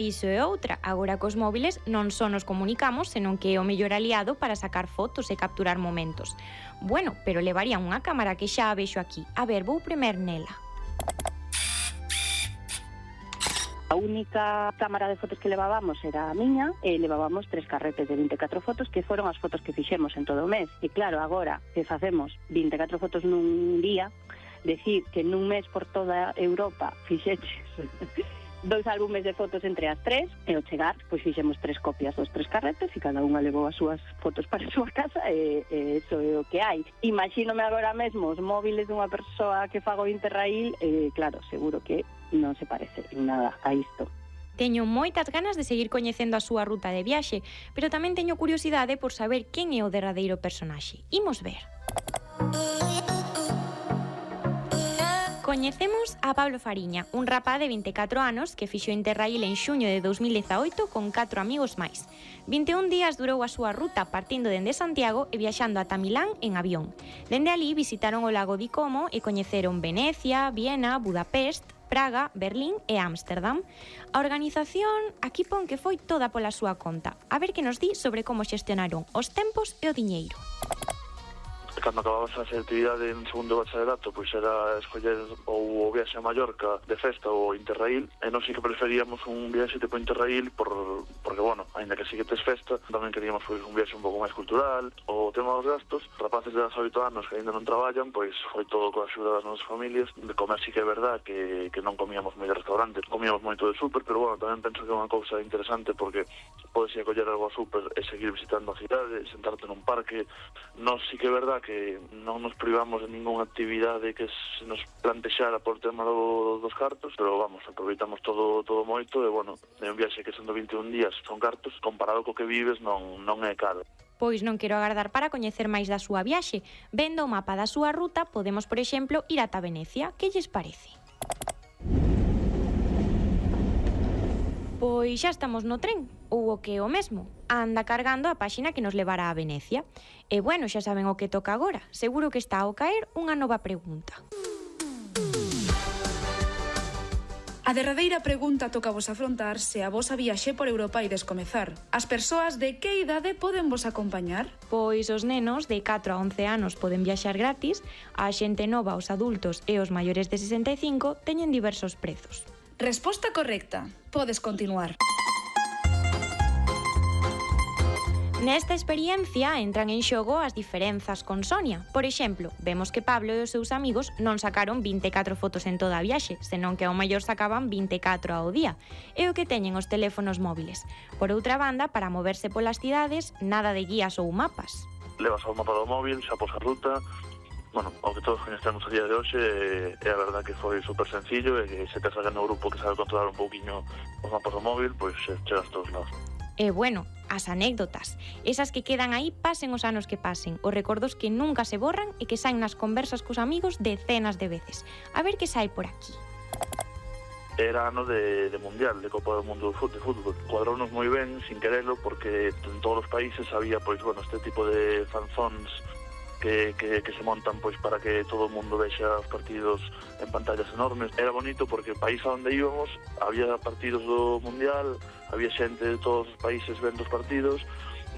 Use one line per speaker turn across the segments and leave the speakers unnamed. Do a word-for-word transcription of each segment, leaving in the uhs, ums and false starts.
Iso é outra, agora cos móviles non só nos comunicamos, senón que é o mellor aliado para sacar fotos e capturar momentos. Bueno, pero levarían unha cámara que xa a vexo aquí. A ver, vou primer nela.
A única cámara de fotos que levábamos era a miña e levábamos tres carretes de vinte e catro fotos que foron as fotos que fixemos en todo o mes. E claro, agora que facemos vinte e catro fotos nun día, decir que nun mes por toda Europa fixeches dois álbumes de fotos entre as tres e ao chegar, pois fixemos tres copias dos tres carretes e cada unha levou as súas fotos para a súa casa e, e eso é o que hai. Imagínome agora mesmo os móviles dunha persoa que fago Interrail e claro, seguro que non se parece en nada a isto.
Teño moitas ganas de seguir coñecendo a súa ruta de viaxe, pero tamén teño curiosidade por saber quen é o derradeiro personaxe. Imos ver. Coñecemos a Pablo Fariña, un rapaz de vinte e catro anos que fixo Interrail en xuño de dous mil dezaoito con catro amigos máis. vinte e un días durou a súa ruta partindo dende Santiago e viaxando ata Milán en avión. Dende alí visitaron o lago de Como e coñeceron Venecia, Viena, Budapest, Praga, Berlín e Ámsterdam. A organización aquí pon que foi toda pola súa conta. A ver que nos di sobre como xestionaron os tempos e o diñeiro.
Cando acababas a facer actividade en segundo bachillerato, pois era escoller ou o viaxe a Mallorca de festa ou Interrail, e non si que preferíamos un viaxe tipo Interrail por, porque, bueno, ainda que si que tes festa, tamén queríamos pois, un viaxe un pouco máis cultural. O tema dos gastos, rapaces de dezaoito anos que ainda non traballan, pois foi todo coa axuda das nosas familias. De comer si que é verdad que, que non comíamos moi de restaurante, comíamos moito de súper, pero, bueno, tamén penso que é unha cousa interesante porque podes ir a coller algo a súper e seguir visitando a cidade, sentarte nun parque. Non si que é verdad que que non nos privamos de ningunha actividade que se nos plantexara por tema do, dos cartos, pero vamos, aproveitamos todo todo moito e, bueno, é un viaxe que sendo vinte e un días son cartos, comparado co que vives non, non é caro.
Pois non quero agardar para coñecer máis da súa viaxe. Vendo o mapa da súa ruta, podemos, por exemplo, ir ata Venecia. Que lles parece? Pois xa estamos no tren, ou o que é o mesmo. Anda cargando a páxina que nos levará a Venecia. E bueno, xa saben o que toca agora. Seguro que está ao caer unha nova pregunta.
A derradeira pregunta toca vos afrontar se a vosa viaxe por Europa ides comezar. As persoas de que idade poden vos acompañar?
Pois os nenos de catro a once anos poden viaxar gratis, a xente nova, os adultos e os maiores de sesenta e cinco teñen diversos prezos.
Resposta correcta. Podes continuar.
Nesta experiencia entran en xogo as diferenzas con Sonia. Por exemplo, vemos que Pablo e os seus amigos non sacaron vinte e catro fotos en toda a viaxe, senón que ao mellor sacaban vinte e catro ao día. É o que teñen os teléfonos móviles. Por outra banda, para moverse polas cidades, nada de guías ou mapas.
Levas o mapa do móvil, xa pos a ruta. Bueno, o que todos coñecemos a día de hoxe é a verdad que foi super sencillo e que se tes alguén no grupo que sabe controlar un pouquiño os mapas do móvil, pois chegas todos lados.
E bueno, as anécdotas, esas que quedan aí pasen os anos que pasen, os recordos que nunca se borran e que saen nas conversas cos amigos decenas de veces. A ver que sai por aquí.
Era ano de, de Mundial, de Copa do Mundo de Fútbol. Cuadrounos moi ben, sin querelo, porque en todos os países había, pois, bueno, este tipo de fanzóns que, que, que se montan pois para que todo o mundo vexa os partidos en pantallas enormes. Era bonito porque o país a onde íbamos había partidos do Mundial, había xente de todos os países vendo os partidos,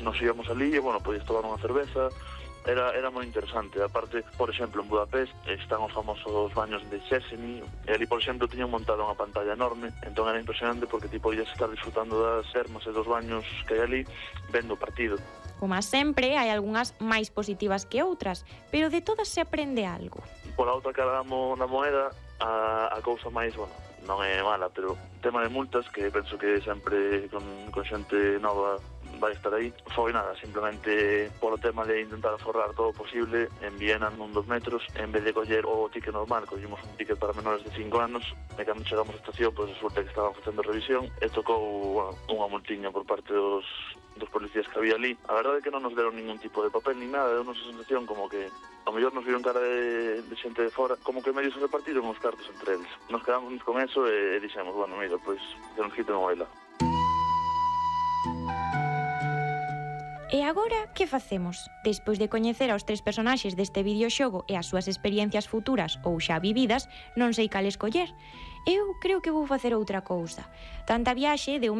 nos íbamos ali e, bueno, podías tomar unha cerveza. Era, era moi interesante. Aparte, por exemplo, en Budapest están os famosos baños de Széchenyi e ali, por exemplo, tiñan montado unha pantalla enorme, entón era impresionante porque ti podías estar disfrutando das termas e dos baños que hai ali vendo o partido.
Como sempre, hai algunhas máis positivas que outras, pero de todas se aprende algo.
Pola outra cara da, mo, da moeda, a, a cousa máis, bueno, non é mala, pero tema de multas, que penso que sempre con, con xente nova vai estar aí, foi nada, simplemente polo tema de intentar aforrar todo o posible en Viena nun dos metros, en vez de coller o ticket normal, collimos un ticket para menores de cinco anos, e cando chegamos á estación, pois resulta que estaban facendo revisión, e tocou, bueno, unha multiña por parte dos, dos policías que había ali. A verdade é que non nos deron ningún tipo de papel ni nada, deu unha sensación como que ao mellor nos viron cara de, de xente de fora, como que medio se repartiron os cartos entre eles. Nos quedamos con eso e, e dixemos, bueno, mira, pois que nos quiten o baila.
E E agora, que facemos? Despois de coñecer aos tres personaxes deste videoxogo e as súas experiencias futuras ou xa vividas, non sei cal escoller. Eu creo que vou facer outra cousa. Tanta viaxe deu